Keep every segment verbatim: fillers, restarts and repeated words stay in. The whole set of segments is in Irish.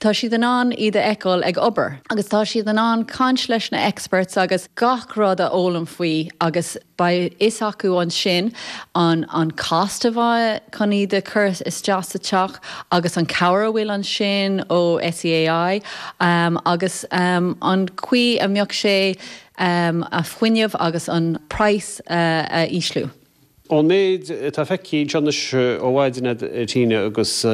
Tá siad in ann iad a fheiceáil ag obair, agus tá siad in ann caint leis na experts agus gach rud a fhoghlaim faoi agus beidh fhios acu ansin an an cost a bheidh chun iad a chur isteach sa teach agus an cabhair a bhfuil ansin ó SEAI um, agus um, an chaoi a mbeadh sé um, a fuinneamh agus an price uh, a ísliú. Ón méid atá feicthe anois ó mhaidin Tina agus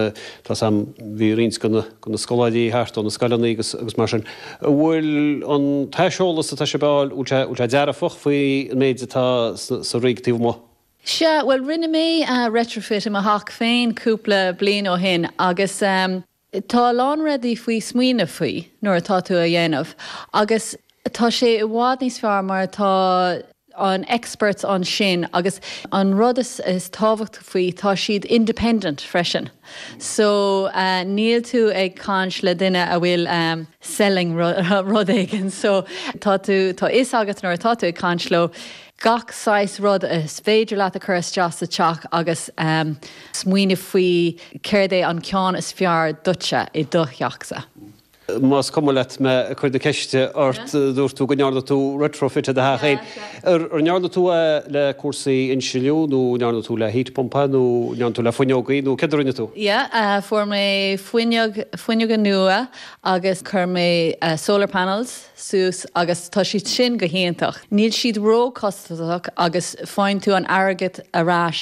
tá sam bhí roinnt de na scoláirí thart ó na scoileanna agus agus mar sin. bhfuil an t-eolas atá sé báil bhfuil sé dearfach faoi an méid atá sa rig taobh amuigh. Sea, well rinne mé uh, retrofit i mo theach féin cúpla bliain ó shin agus um, tá a lán rudaí faoi smaoineamh faoi nuair atá tú a dhéanamh. agus tá sé i bhfad níos fearr mar tá an experts ansin agus an rud is, is tábhacht faoi tá siad independent freisin. So uh, níl tú ag caint le duine a bhfuil um, selling rud éigin, so tá tú tá fhios agat nuair atá tú ag caint leo gach saghas rud is féidir leat a chur isteach sa teach agus um, smaoineamh faoi céard é an ceann is fearr duitse i do theachsa. Más cuma leat mé chur de ceiste ort dúirt tú go ndearna tú retrofit i do theach féin. Ar ndearna tú le cúrsaí insliú nó ndearna tú le heat pump nó ndearna tú le fuinneogaí nó céard a rinne tú? Yeah, uh, fuair mé fuinneog fuinneoga nua agus chuir mé uh, solar panels suas agus tá siad sin go hiontach. Níl siad róchostasach agus faigheann tú an airgead ar ais